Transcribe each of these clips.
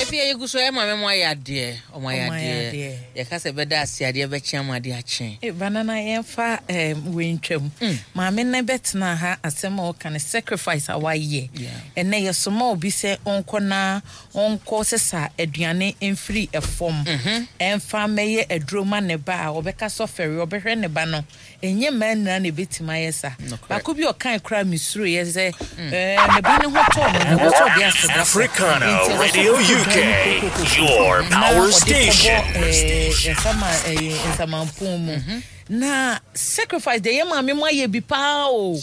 Efi yɛ gu so ɛ maame mo ayɛ adeɛ, ɔmo ayɛ adeɛ. Yɛka sɛ bɛda ase adeɛ bɛkye ama adeɛ akye. Eh, banana yɛmfa eh, wei ntwam. Mm. Maame no bɛtena ha asɛm a ɔka no sacrifice a wayɛ. Ɛnɛ yɛsoma obi sɛ ɔnkɔ na ɔnkɔ sesa aduane mfiri ɛfam. Mm-hmm. Ɛmfa mmɛyɛ aduro ma ne ba a ɔbɛka sɛ ɔfɛre ɔbɛhwɛ ne ba no. Ɛnyɛ mmaa nyinaa na ɛbɛtumi ayɛ saa. Baako bi ɔkae koraa mesuroeɛ sɛ ɛɛ ne ba ne ho tɔɔ no no ɛwɔ sɛ ɔde aseda kɔ. Africana Nti ɛwɔ sɛ Radio ɔkɔtɔ UK, dan mu kokokoko your na power ɔde kɔbɔ station. ɛɛ nsama ɛɛ nsamanpon mu. Na sacrifice deɛ yɛ maame mo ayɛ bi paa o.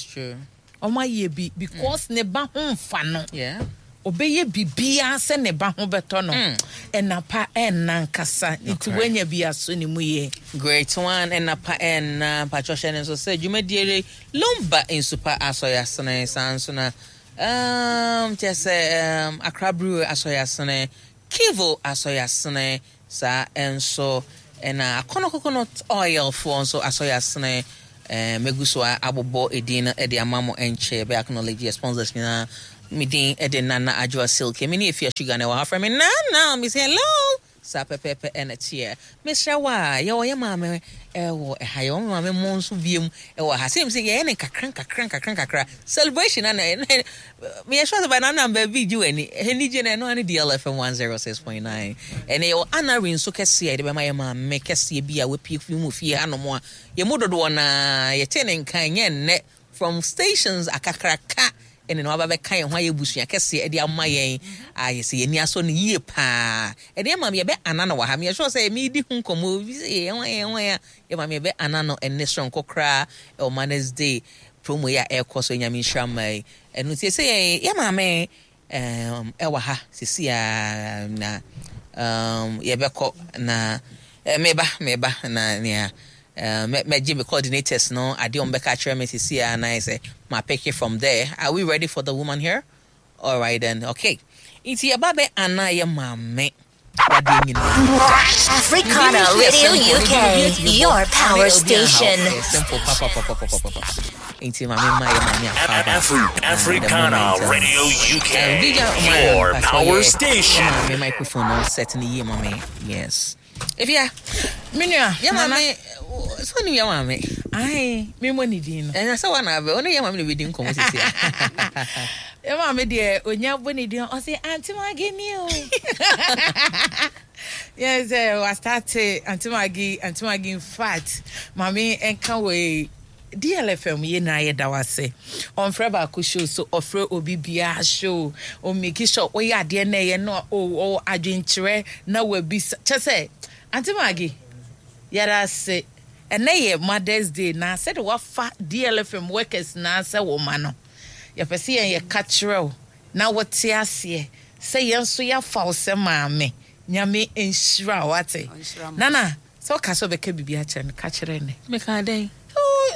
Ɔmo ayɛ bi because ne ba ho nfa no. Ɔbɛyɛ biribiara sɛ ne ba ho bɛtɔ no. Ɛna pa ɛnna ankasa nti wanya bi aso ne mu yie. Great one ɛna pa ɛnna mpakyɛ hyɛ no nso sɛ dwumadie re Lumba nsupa asɔre asene saa nso na um, kyɛ sɛ um, Accra Brewery asɔre asene Kivo asɔre asene Saa nso na Akɔnɔ Coconut Oil foɔ nso asɔ yɛ asene. Eh, mɛgu so abobɔ edin no de ama mo ɛnkyɛ. Yɛbɛ acknowledge yɛ sponsors nyinaa. Me din de Nana Adwoa Silky. Me ne Afia Sugar na ɛwɔ ha. Frɛ me Nana. Me say hello. Saa pɛpɛɛpɛ ɛna ɛteɛ. Mesrɛ wo a, yɛwɔ yɛ maame ɛwɔ ɛha. Yɛwɔ me maame mo nso biom ɛwɔ ha. Sɛ sɛ yɛyɛ ne nkakra nkakra nkakra nkakra. Celebration na meyɛ sure sɛ by now na baabi gye w'ani. Anigye no ɛno ara ne DLFM 106.9. Ɛnɛ yɛwɔ honorary nso kɛseɛ a yɛde bɛma yɛ maame kɛseɛ bi a wapue fi mu fie hanom a yɛn mu dodoɔ no ara yɛte ne nka ɛnyɛ nnɛ from stations akakraka ɛne na waba bɛka yɛn ho ayɛ busua kɛseɛ ɛde ama yɛn a yɛsɛ yɛn ani asɔ no yie paa ɛde ama yɛbɛ ana no wɔ ha meyɛ sure sɛ medi ho nkɔmmɔ bi sɛ yɛn ho yɛn ho yɛn yɛ maame yɛbɛ ana no ɛnne soronko koraa ɛwɔ Mother's Day promo yi a ɛrekɔ so Nyame nhyira mma yi ɛno nti ɛsɛ yɛn yɛ maame um, ɛwɔ ha sisi a na um, yɛbɛkɔ na eh, meba meba na nea eh, mɛgye me coordinators no adeɛ wɔn bɛka akyerɛ me sisi a na ayɛ sɛ ma pick it from there. Are we ready for the woman here? All right then, okay. Nti yɛba bɛ ana yɛ maame wadeɛ nyinaa. Africana Radio UK, your power station. Simple papapapapapa. Nti maame ma yɛ maame akwaaba. Africana Radio UK, your power station. Maame microphone no set ne yie maame. Yes. Efia. Me nua. Yɛ maame. So ni yɛ maame. Ayi, me mo ne din no. Ɛna sɛ wana abɛ, ɔne yɛ maame na bɛdi nkɔmmɔ sisi a. Yɛ maame deɛ onya bɔ ne din ɔse Auntie Maggie ni o. Yɛ sɛ wa start Auntie Maggie, Auntie Maggie in fact, maame ɛnka wɔ DLFM yɛ nyinaa yɛda wo ase. Ɔmfrɛ baako show so, ɔfrɛ obi biara show. Ɔmake sure woyɛ adeɛ na ɛyɛ no ɔwɔ adwenkyerɛ na wabisa. Kyɛ sɛ, Auntie Maggie, yɛda ase. Ɛnɛ yɛ Mother's Day na sɛde wafa DLFM workers nyinaa sɛ wo ma no, yɛpɛ sɛ yɛn yɛka kyerɛ wo na wote aseɛ sɛ yɛn nso yɛafa wo sɛ maame. Nyame nhyira wo, wate. Nana, Sɛ ɔka sɛ ɔbɛka biribi akyerɛ no, ka kyerɛ no. Mekaa dɛn? Oh,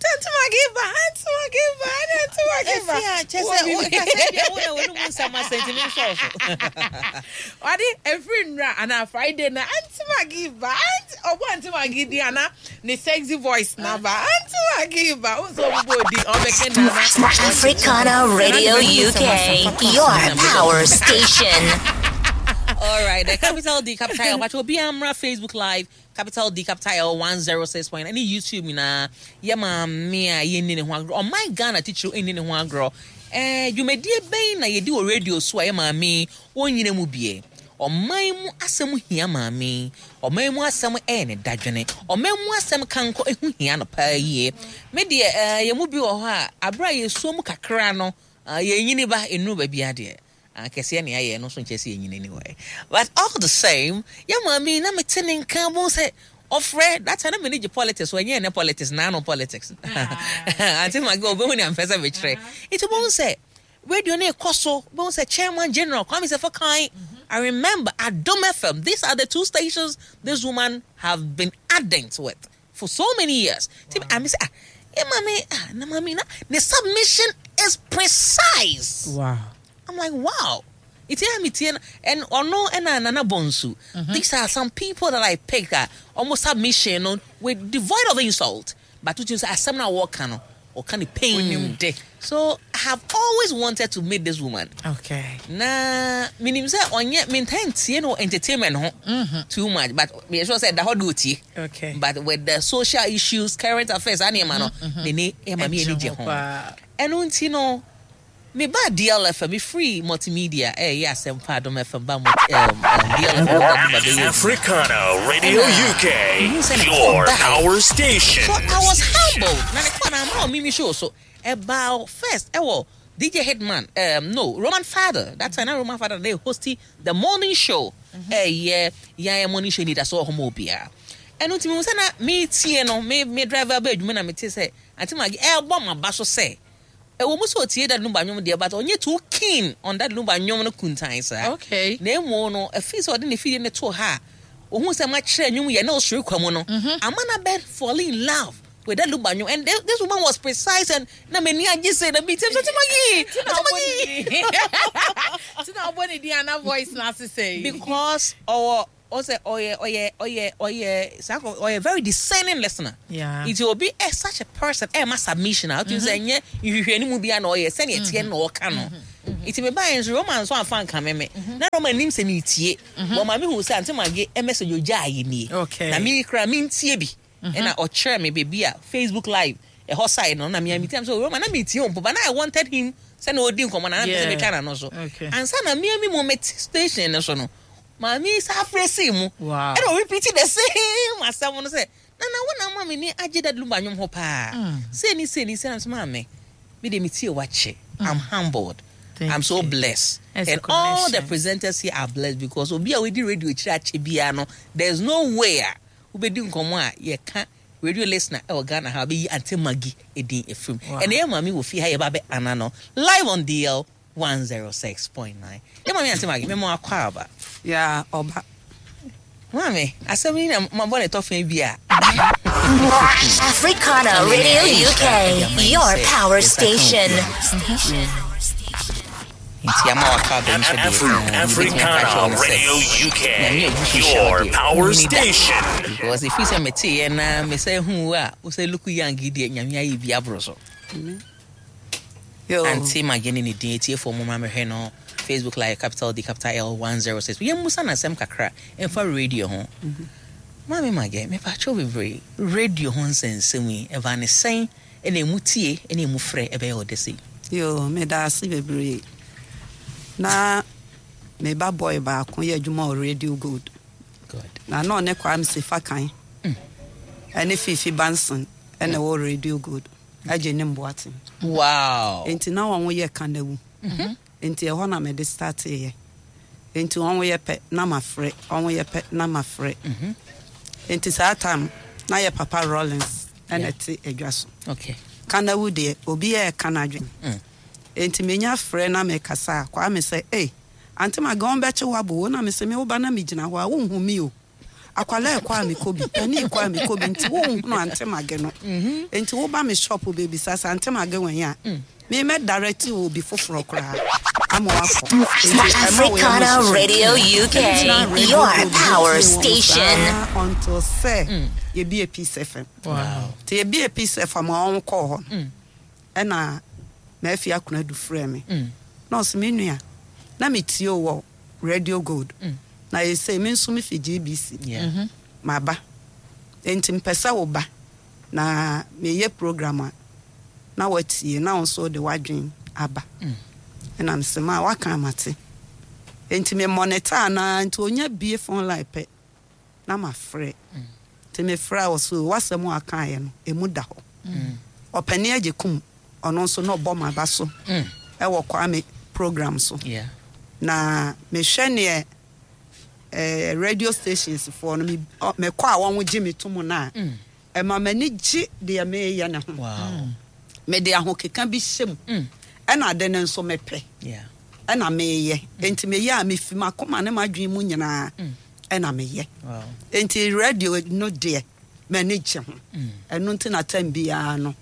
Auntie Maggie ba, Auntie Maggie ba, Auntie Maggie ba. Efi a kyɛ sɛ wo ka sɛ bia wo na wɔn mu nsɛm asɛ nti mi nsɔɔ so. Ɔde efiri nnura anaa Friday na Auntie Maggie ba, Auntie ɔbɔ Auntie Maggie din ana ne sexy voice na ba, Auntie Maggie ba, wo nso ɔbɛbɔ odin ɔbɛka nana. Africana Radio UK, your power station. All right, the capital D, capital L. But obi amra Facebook Live, capital D, capital L, 106 point. Any YouTube na ye ma me a ye ni ne ho agro. Oh my Ghana teacher ni ne ho agro. Eh, dwumadie bɛn na yɛdi wɔ radio so a yɛ maame ɔnyina mu bie. Ɔman mu asɛm hia maame. Ɔman mu asɛm ɛyɛ ne dadwene. Ɔman mu asɛm kankɔ ɛho hia no paa yie. Me deɛ eh, yɛn mu bi wɔ hɔ a abere a yɛsuo mu kakra no, yɛnyini ba nnuru baabi adeɛ. Akɛseɛ na yɛayɛ ɛno nso nkyerɛ sɛ yɛnyini anyway. But all the same, yɛ maame yi na mete ne nka bohu sɛ ɔfrɛ that time na m'ani gye politics so ɛnyɛ ɛnɛ politics naano politics. Auntie Maggie ɔbɛhu nea mpɛ sɛ mekyerɛ. Nti bohu sɛ radio no ɛkɔ so, bohu sɛ Chairman General Kwame Sefo Kan, I remember Adom FM, these are the two stations this woman have been ardent with for so many years. Nti wow. I say, ah, yeah, mommy, ah, na mommy, na the submission is precise. Wow. I'm like, wow. It's here me and ono and Nana Bonsu. These are some people that I picked that almost submission no with devoid of insult. But to say asem na work no or can pain. So I have always wanted to meet this woman. Okay. Na minim sɛ ɔnyɛ mentaa ntie no entertainment ho too much but meyɛ sure sɛ ɛda hɔ de otie. Okay. But with the social issues, current affairs, saa nneɛma no, n'ani ɛma me ani gye ho. Ɛno nti no, mebaa DLFM, mefiri multimedia ɛyɛ Asɛmpa Adom FM ba multi, DLFM ba bɛyɛ adwuma. Africana Radio Ɛna UK, mehu sɛ ne call your bae. power station. So I was humbled. Na ne call na ama ɔmimi show so. Ɛbaa first ɛwɔ DJ Hitman, no, Roman Father. That time na Roman Father na hosti the morning show. Ɛyɛ yɛn morning show ni da so wɔ hɔ ma obiara. Ɛno nti mehu sɛ na metie no, me driver bɛ adwuma na mete sɛ Auntie Maggie ɛrebɔ m'aba so sɛ ɛwɔ mu sɛ otie Daddy Lumba nnwom deɛ but ɔnyɛ too keen on Daddy Lumba nnwom no kuntan saa. Okay. Na emu no, ɛfiri sɛ ɔde ne fidie no too ha a, ohun sɛ makyerɛ nnwom yɛ na ɔsoro kwa mu no, ama no abɛ fall in love with Daddy Lumba nnwom. And this woman was precise and na m'ani agye sɛ na bi tiam sɛ Auntie Maggie, Auntie Maggie. Nti na ɔbɔ ne din ana voice na ase sɛ. Because ɔwɔ ɔsɛ ɔyɛ ɔyɛ ɔyɛ ɔyɛ saa kɔ ɔyɛ very discerning listener. Yeah. Nti obi ɛ such a person ɛma submission a ɔtumi sɛ ɛnyɛ nhwehwɛ ne mu bi a na ɔyɛ sɛnea ɛteɛ na ɔka no. Nti me baa nso Roman nso anfa nka me me. Na Roman nim sɛ me tie. Wɔn maame hu sɛ Auntie Maggie message ogya ayɛ nie. Okay. Na me kura me ntie bi. Ɛna ɔkyerɛ me beebi a Facebook live ɛhɔ side no na me a me tie so Roman na me tie mpo but na I wanted him sɛ na ɔdi nkɔmɔ na na mpɛ sɛ Yeah. metwa n'ano so. Okay. Ansa na me a me mu mete station no so no maame sa afrɛ sii mu. Wow. Ɛna ɔrepeat the same asɛm no sɛ nana wo na ama me ni agye Daddy Lumba nnwom ho paa. Sei ni sei ni sei na nso maame me de me tie wakye. I'm humbled. Thank I'm so you. blessed. It's a And all the connection. presenters here are blessed because obi a wedi radio kyerɛ akyɛ biara no there's no way a wobɛdi nkɔmmɔ a yɛka radio listener ɛwɔ Ghana ha wobɛyi Auntie Maggie edin efirim. Wow. Ɛna yɛ maame wɔ fie ha yɛba bɛ ana no live on DL 106.9. Yɛ maame Auntie Maggie mɛmo akɔ aba. Ya ɔba. Maame, asɛm yi na mabɔ ne tɔfɛn bi a. Africana Radio UK, your power station. Nti ama waka aba nso deɛ, Africana Radio UK, your power station. Because if you say me tie na me say hu a, wo say look young deɛ nyame ayɛ bi aboro so. Yo. Auntie Maggie ne ne din etiefo mo ma mehwɛ no Facebook live capital D capital L 106. Yɛn musa na asɛm kakra ɛmfa radio ho. Maame Maggie, me pa kyɛw bebree radio ho nsɛnsɛm yi ɛba ne sɛn ɛna emu tie ɛna emu frɛ ɛbɛyɛ ɔde sei. Yo, meda ase bebree. Na me ba boy baako yɛ adwuma wɔ Radio Gold. Good. Na na ɔne Kwame Sefa kan. Ɛne Fifi Banson ɛna ɛwɔ Radio Gold. Agye ne mboaten. Wow. Nti na wɔn yɛ kanawu. Nti ɛhɔ na mede starteeɛ. Nti wɔn yɛ pɛ na mafrɛ, wɔn yɛ pɛ na mafrɛ. Nti saa time na yɛ papa Rollins ɛna ɛte adwa so. Okay. Kanawu deɛ obi yɛ ɛka n'adwene. Nti menya frɛ na mekasa a Kwame sɛ, "Ei, Auntie Maggie wɔn bɛkye wo abo wo na mesɛ me wo ba na megyina hɔ a wonhu mi o. Akwalaa ɛkɔ a mekɔ bi, pani ɛkɔ a mekɔ bi nti wonhunu Auntie Maggie no. Nti woba me shop bebisa sɛ Auntie Maggie wɛn a, me mɛ direct wo obi foforɔ koraa ama wakɔ. Nti ɛma wo yɛ Africana mo hyehyɛ. Radio UK, Ɛtena Radio your Gold power tie wɔn station. saa until sɛ yɛbie Peace FM. Wow. Nti yɛbie Peace FM a wɔn kɔɔ hɔ no, ɛna maafi akona du frɛ me. Na ɔsɛ me nua, na metie wo wɔ Radio Gold. Na yɛsɛ me nso mefi GBC. Yeah. Maba. Nti mpɛ sɛ wo ba na meyɛ program a na watie na wo nso de w'adwen aba. Ɛna mesɛ ma waka amate. Nti me monitor anaa nti onya bie phone line pɛ na mafrɛ. Nti mefrɛ a ɔso wasɛm a akaeɛ no emu da hɔ. Ɔpani agye kum ɔno nso na ɔbɔ m'aba so ɛwɔ Kwame program so. Yeah. Na mehwɛ neɛ radio stations foɔ no mekɔ a wɔn gye me to mu no a ɛma m'ani gye deɛ meyɛ ne ho. Wow. Mede ahokeka bi hyɛ mu. Ɛna ade no nso mepɛ. Yeah. Ɛna meyɛ. Enti meyɛ a mefi m'akoma ne m'adwene mu nyinaa ɛna meyɛ. Wow. Enti radio no deɛ m'ani gye ho. Ɛno nti na time biara no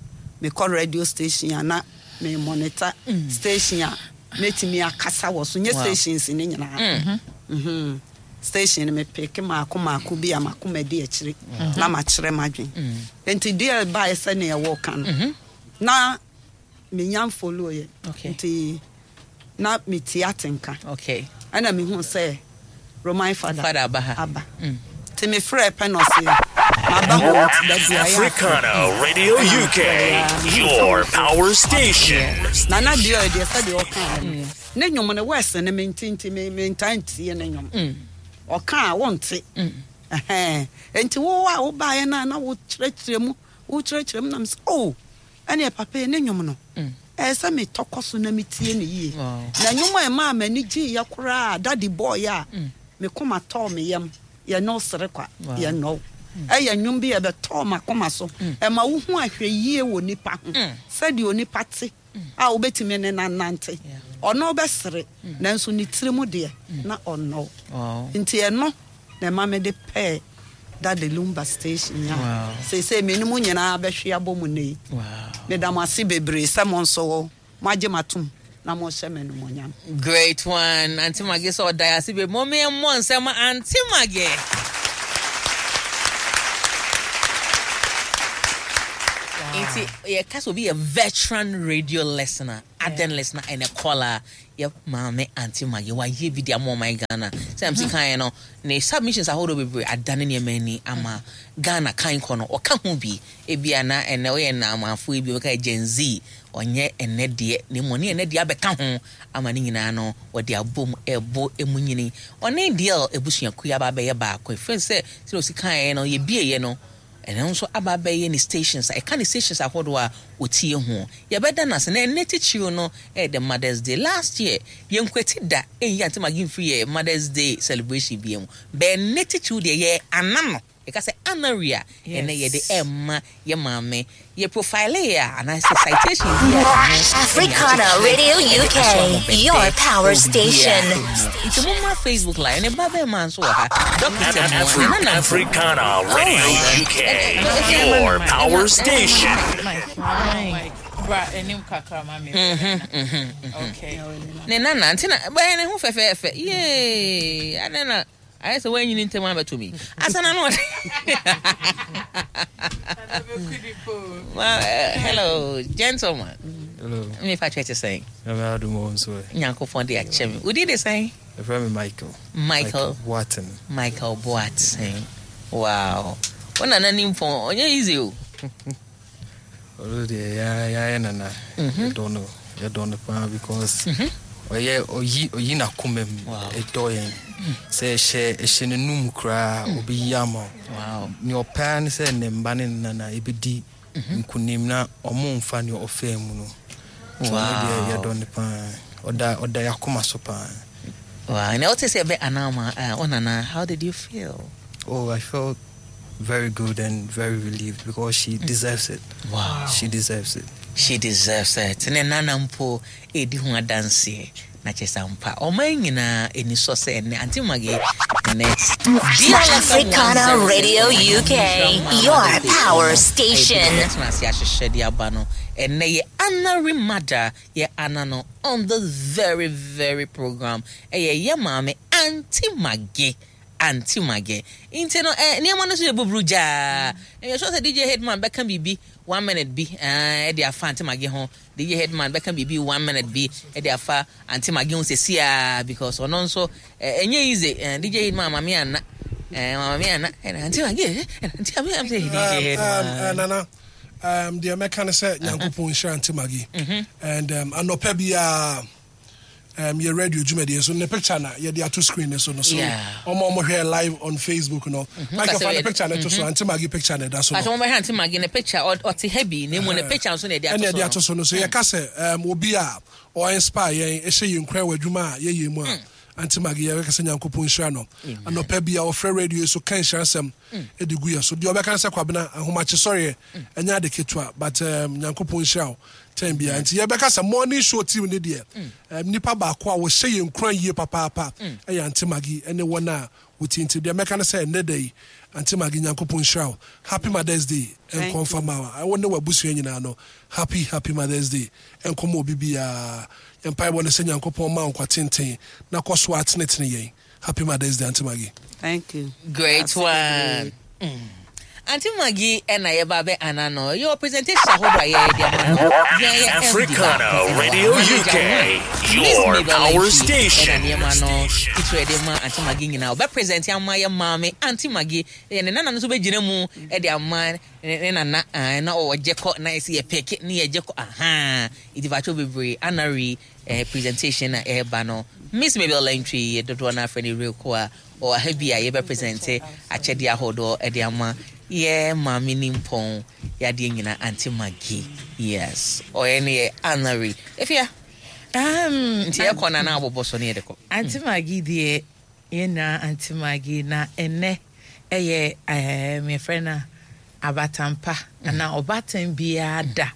mekɔ radio station a na me monitor station a mɛtumi akasa wɔ so. Nyɛ stations ne nyinaa. Station no mepeke maako maako bi a makoma di akyire na makyerɛ m'adwene. Enti deɛ baeɛ sɛnea wɔka no na menya mfollow yɛ. Okay. Nti na metie atenka. Okay. Ɛna mehu sɛ Roman fada, Fada aba ha. aba. Nti mefrɛɛ pɛ na ɔse maba hɔ nti da biara yɛ afrɛ. Africana Radio UK, your power station. Nana deɛ deɛ sɛdeɛ ɔkaa no, ne nnwom no wɛse no mente nti mentaa ntie ne nnwom. Ɔka a wonte. Ɛhɛn. Nti wo a wobaeɛ no a na wokyerɛkyerɛ mu, wokyerɛkyerɛ mu na mesɛ oh, ɛneɛ papa yi ne nnwom no, ɛyɛ sɛ metɔ kɔ so na metie no yie. Na nnwom a ɛmaa m'ani gyeeɛ koraa Daddy bɔeɛ a me koma tɔɔ me yam, Yɛne Wo Sere Kwa, Yɛnnɔ Wo. Ɛyɛ nnwom bi a ɛbɛtɔɔ m'akoma so. Ɛma wohu ahwɛyie wɔ nipa ho, sɛdeɛ onipa te a wobɛtumi ne no anante. Ɔne wo bɛsere, nanso ne tiri mu deɛ, na ɔnnɔ wo. Nti ɛno na ɛma mede pɛɛ Daddy Lumba station yi a seesei me ne mo nyinaa bɛhwe abɔ mu nnɛ yi. Meda mo ase bebree sɛ mo nso moagye me atom na mohyɛ me animuonyam. Great one, Auntie Maggie sɛ ɔda yɛ ase bebree. Mom yɛ mmɔ nsɛm ma Auntie Maggie. Nti yɛka sɛ obi yɛ veteran radio listener, ardent listener and a caller. Yɛ maame Auntie Maggie wayɛ bi de ama ɔman Ghana. Sɛ MC kaeɛ no, ne submissions ahodoɔ bebree adane nneɛma ani ama Ghana kan kɔ no, ɔka ho bi. Ebia na ɛnnɛ woyɛ Naamanfoɔ yi bi, wobɛka yɛ Gen Z, ɔnyɛ ɛnnɛ deɛ, na mmom ɔne ɛnnɛ deɛ abɛka ho ama ne nyinaa no wɔde abom rebɔ emu nyini. Ɔne DL abusuakuo yi aba abɛyɛ baako, ɛfiri sɛ sɛdeɛ ɔsi kaeɛ no, yɛbieeɛ no, Ɛno nso aba abɛyɛ ne stations a ɛka ne stations ahodoɔ a ɔtie ho. Yɛbɛda no ase. Na ɛnnɛ titiriw no ɛyɛ the Mother's Day. Last year, yɛnkwati da ɛnyi Auntie Maggie mfiri yɛn Mother's Day celebration biara mu. But ɛnnɛ titiriw deɛ yɛ ana no. Yɛka sɛ honorary a, ɛnnɛ yɛde ɛrema yɛn maame. Yɛ profile yɛ a, anaasɛ citation bi a ɛho ɛne Africana akyekyerɛ Radio ɛde UK, aso ahoɔfɛ your power ɛwɔ biribiara station. mu. Nti mommra Facebook live. Ne ba bɛrima nso wɔ ha, Dɔkita Mua, ne nana mpo. Africana Radio Alright. UK, your power station. Bra anim kakra ma me. Okay. Ne nana nti na bɛyɛ ne ho fɛfɛɛfɛ. Yee! Adɛn na Ayɛ sɛ woanyini ntɛm abɛto me yi. Asa na no ɔde. Hello, gentleman. Hello. Me fa kyerɛ te sɛn? Nyame adom wɔ nso ɛ. Nyankopɔn de akyɛ me. Wodi de sɛn? Ɛfrɛ me Michael. Michael Boateng. Michael Boateng. Wow. Wo nana ni mpɔn, ɔnyɛ easy o. Ɔno deɛ yɛayɛ nana mhm. yɛdɔ no yɛdɔ no paa because mhm. ɔyɛ ɔyi ɔyi n'akoma mu ɛdɔ yɛn mm. sɛ ɛhyɛ ɛhyɛ n'anum koraa mm. ɔbɛyi ama wo nea ɔpɛ ne sɛ ne mba ne ne nana ɛbɛdi mhm. nkunim na ɔmo nfa nea ɔfaa mu no nti ɔno deɛ yɛdɔ no paa ɔda ɔda yɛakoma so paa. Wow, na ɔte sɛ ɛbɛ anama ɔnana how did you feel? Oh, I felt very good and very relieved because she deserves it. Wow. She deserves it. She deserves it. Ne nana mpo edi ho adanseɛ. Na kyerɛ sɛ ampa ɔman nyinaa ani sɔ sɛ ɛnɛ Auntie Maggie ɛnɛ Africana Radio UK, your power station. Ɛtena ase ahyehyɛ de aba no ɛnɛ yɛ honorary mother yɛ ana no on this very very program ɛyɛ yɛ maame Auntie Maggie. Auntie Maggie. Nti no eh, nneɛma no so yɛ buburu gyaa. Ɛyɛ sure sɛ DJ Hitman bɛka biribi one minute bi eh, de afa Auntie Maggie ho. DJ Hitman bɛka biribi one minute bi de afa Auntie Maggie ho sɛsi a because ɔno nso eh, ɛnyɛ easy. Eh, DJ Hitman mame anna. Eh, mame anna. Eh, Auntie Maggie, eh, Auntie Maggie, I'm DJ Hitman. Nana, deɛ mɛka ne sɛ Nyankopɔn nhyira Auntie Maggie. And anɔpa biara um, yɛ radio dwumadie so ne picture na yɛde ato screen ne so no so ɔmo ɔmo hwɛ live on Facebook no Michael fa ne picture ne to so Auntie Maggie picture na ɛda so no. Pàtó wɔn bɛhwɛ Auntie Maggie ne picture ɔte ha bi na emu ne picture nso na yɛde ato so no. Ɛna yɛde ato so no so yɛka sɛ um, obi a ɔ inspire yɛn ɛhyɛ yɛn nkuran wɔ adwuma a yɛyɛ mu a Auntie Maggie yɛbɛka sɛ Nyankopɔn nhyira no anɔpa bi a ɔfrɛ radio so ka nhyira nsɛm de gu yɛ so deɛ ɔbɛka ne sɛ Kwabena ahomakye sɔreɛ ɛnyɛ ade ketewa but um, Nyankopɔn nhyira wo tɛn biara nti yɛbɛka sɛ morning show team ne deɛ um, nipa baako a wɔhyɛ yɛn nkuran yie papaapa ɛyɛ Auntie Maggie ɛne wɔn a wɔtie nti deɛ mɛka ne sɛ ɛnnɛ da yi Auntie Maggie Nyankopɔn nhyira wo happy Mother's Day ɛnkɔ mfa ma wo ne w'abusua nyinaa no happy happy Mother's Day ɛnkɔ ma obi biara yɛn mpaebɔ ne sɛ Nyankopɔn ma wo nkwa tenten na kɔ so atenetene yɛn happy Mother's Day Auntie Maggie. Thank you. Great one. Auntie Maggie ɛna yɛba bɛ ana no. Yɛwɔ presentation ahodoɔ a yɛyɛ de ama no. Yɛn yɛ MD Africana baako ɛna Radio wɔ ha. Manager UK, one, Miss your Mabel power Antwi ɛna station. nneɛma no titire de ma Auntie Maggie nyinaa. Ɔbɛ present ama yɛ maame Auntie Maggie. Yɛ ne nana no nso bɛgyina mu ɛde ama ne nana na ɔgye kɔ na ɛsɛ yɛ pɛke ne yɛgye kɔ ahaa. Nti fakyɛw bebree anari presentation na ɛreba no. Miss Mabel Antwi yɛ dodoɔ no afrɛ no Reko a ɔwɔ ha bi a yɛbɛ present akyɛdeɛ ahodoɔ ɛde ama yɛ maame nimpɔn yadeɛ nyinaa Auntie Maggie. Yes, ɔyɛ ne yɛ anari. Efia. Nti yɛkɔ na na abobɔ so ne yɛde kɔ. Auntie Maggie deɛ yɛn nyinaa Auntie Maggie na ɛnɛ ɛyɛ yɛfrɛ no abatampa anaa ɔbaatan biara da.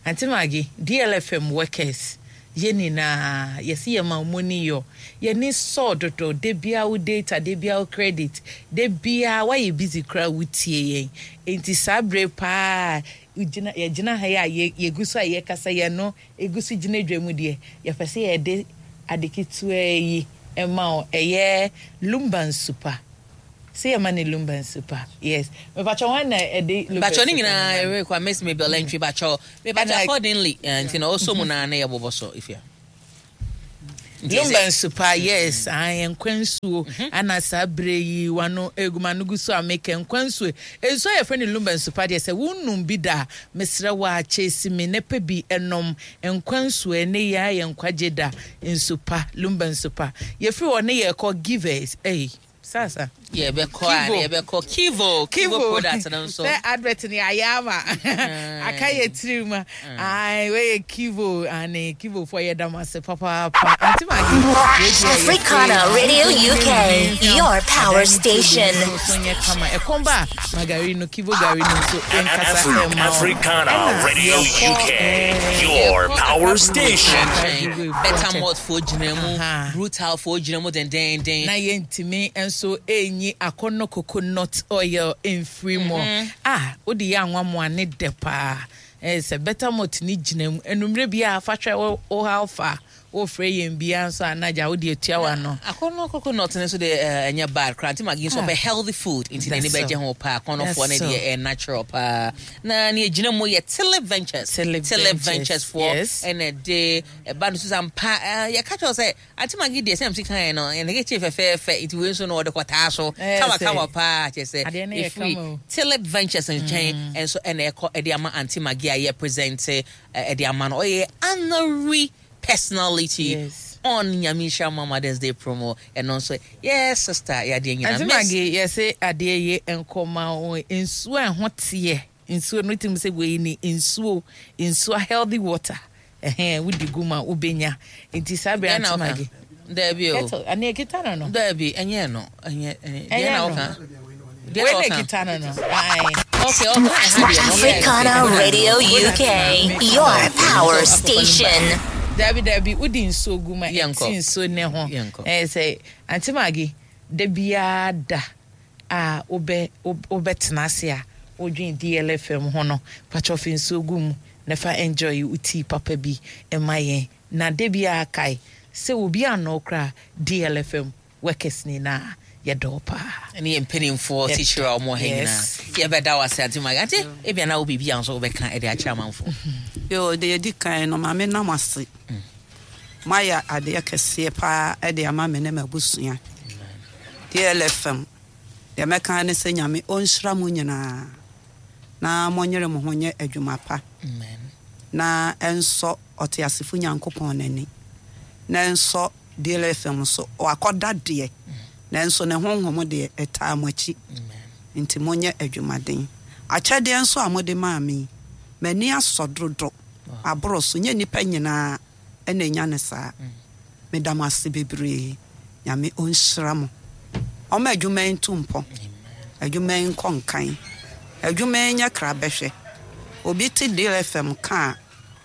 Auntie Maggie, DLFM workers yɛn nyinaa yɛsi yɛ ma ɔmo ni yɔ yɛni sɔɔ dodo de bia wo data de bia wo credit de bia wayɛ busy koraa wotie yɛn nti saa bere paa gyina yɛgyina ha yi a yɛgu so a yɛkasa yɛn no egu so gyina dwa mu deɛ yɛpɛ sɛ yɛde ade ketewa yi ɛma wo ɛyɛ lumba nsupa sɛ yɛma ne lumba nsupa yes mepakyɛ wɔn na ɛde lumba Bakyɛ ne nsupa nyinaa no ma no. ɛrekɔ Miss Mabel Antwi bakyɛ mebakyɛ accordingly nti na ɔsɔ mu na ne yɛbobɔ so Efia. Nti Lumba sɛ- nsupa yes ayi nkwa nsuo ana saa bere yi wano eguma no gu so a meka nkwa nsuo nsuo a yɛfrɛ no lumba nsupa deɛ sɛ wonum bi da a mesrɛ wo a kyesi mi ne pɛ bi ɛnom nkwa nsuo ɛne yɛ ayɛ nkwagye da nsupa lumba nsupa yɛfiri hɔ ne yɛkɔ givers ɛyi sasa yɛbɛkɔ a Kivo. yɛbɛkɔ Kivo Kivo product no nso. sɛ advert ni ayɛ ama aka yɛ tiri mu ai weyɛ Kivo ane Kivo fo yɛ dam ase papaapa Auntie Maggie Africana Radio UK, your power station. Kama ɛkɔm ba a magari no Kivo gari no nso nkasa ɛma wo. Africana Ɛna Radio yɛkɔ, UK, your Yɛkɔ power Accra station. nkyɛn. Better malt fo gyina mu Aha. brutal fo gyina mu dendenden. Na yɛntumi nso ɛnyi akɔnnɔ coconut oil mfiri mu a wode yɛ anwamoa ne dɛ paa sɛ better malt ne gyina mu enumere bi a fa hwɛ wo ha fa wofrɛ yɛn bia nso anagya wode atua w'ano. Akɔnnɔ coconut no nso de ɛnyɛ bad koraa. Auntie Maggie nso ɔpɛ healthy food nti n'ani That's bɛgye so. ho paa. Akɔnnɔfoɔ no That's deɛ so. ɛyɛ natural paa. Na ne gyina mu yɛ Tilip Ventures. Tilip Tilip Ventures, Ventures foɔ yes. ɛna de ɛba no so sɛ ampa yɛka kyerɛ wo sɛ Auntie Maggie deɛ sɛ msi kan no ɛna kɛkyɛ fɛfɛɛfɛ nti wei nso no ɔde kɔtaa so kama kama paa kyerɛ sɛ Adeɛ no yɛ ɛfiri kama o. Tilip Ventures nkyɛn ɛnso ɛna ɛkɔ ɛde ama Auntie Maggie a yɛ present ɛde ama no ɔyɛ honorary personality Yes. on Nyame Nhyira Ma Mother's Day promo ɛno nso yes sister yɛadeɛ nyinaa Auntie Maggie yɛsɛ adeɛ yɛ nkɔma wo nsuo a ɛho teɛ nsuo no tim sɛ wei ni nsuo nsuo healthy water ɛhɛn wodi gu ma wobɛnya nti saa bere Deɛ na Auntie woka? Maggie Daabi o. Kettle ane ekita no no. Daabi ɛnyɛ no ɛnyɛ ɛnyɛ deɛ Ɛnyɛ na no. woka? Deɛ Wei na na woka? ekita no no. Aye. Okay, ɛha deɛ no. Africana Radio UK, your power station. Dabi dabi wodi nsuo gu ma Yɛnkɔ. ɛte nsuo ne ho. Yɛnkɔ. Ɛyɛ sɛ Auntie Maggie da biara da a wobɛ wobɛtena ase a wodwen DLFM ho no patwɔ fe nsuo gu mu na fa enjoy wo tea papa bi ɛma yɛn na da biara kae sɛ obi anɔ koraa DLFM workers nyinaa yɛdɔ paa. Ɛne yɛ mpanimfoɔ titiri a wɔwɔ ha Yes. nyinaa yɛbɛda wo ase Auntie Maggie. Auntie ebia na wo biribi a nso wobɛka ɛde akyerɛ amanfoɔ. Yo, deɛ yɛdi kan no maame nam ase moayɛ adeɛ kɛseɛ paa ɛde ama me ne m'abusua DLFM deɛ mɛka ne sɛ Nyame ɔnhyira mo nyinaa na monyere mo ho nyɛ adwuma pa Amen. na ɛnsɔ ɔteasefo Nyankopɔn n'ani na ɛnsɔ DLFM so wakɔda deɛ nanso ne honhom deɛ ɛtaa mo akyi nti monyɛ adwumaden akyɛdeɛ nso a mode maa me yi, m'ani asɔ dodo aboro so nyɛ nnipa nyinaa ɛna ɛnya ne saa meda mo ase bebree Nyame ɔnhyira mo ɔma adwuma yi nto mpɔ adwuma yi nkɔ nkan adwuma yi nyɛ kra bɛhwɛ obi te DLFM ka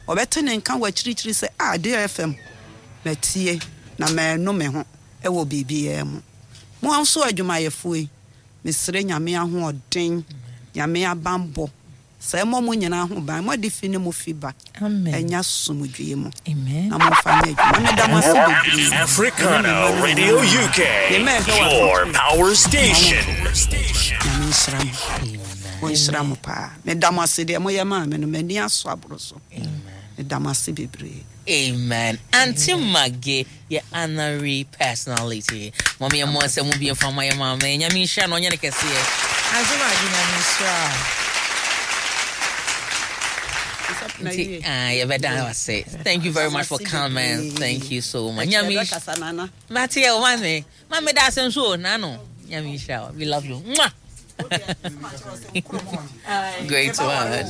a ɔbɛte ne nka wɔ akyirikyiri sɛ a DLFM matie na maanu me ho ɛwɔ biribiara mu mo nso adwumayɛfoɔ yi mesrɛ Nyame ahoɔden Nyame abanbɔ sɛ ɛmmɔ mo nyinaa ho ban moade fi ne mo fi ba Amen. ɛnya somdwie mu Amen. na momfa nyɛ adwuma meda mo ase bebree Africana Radio UK, your power station. Nyame nhyira mo. Amen. Wɔnhyira mo paa. Meda mo ase deɛ moyɛ maa me no, m'ani asɔ aboro so. Meda mo ase bebree. Amen. Auntie Maggie, yɛ honorary personality. Mom yɛ mo asɛm bi mfa ma yɛ maame. Nyame nhyira no ɔnyɛ ne kɛseɛ. Auntie Maggie, Nyame nhyira. Nti, ah, yɛbɛda ase. Thank you very much for coming. Thank you so much. Nyame nhyira. Mate yɛ o maame. Maame da ase nso o, nano. Nyame nhyira wo. We love you. Mwah. Great one.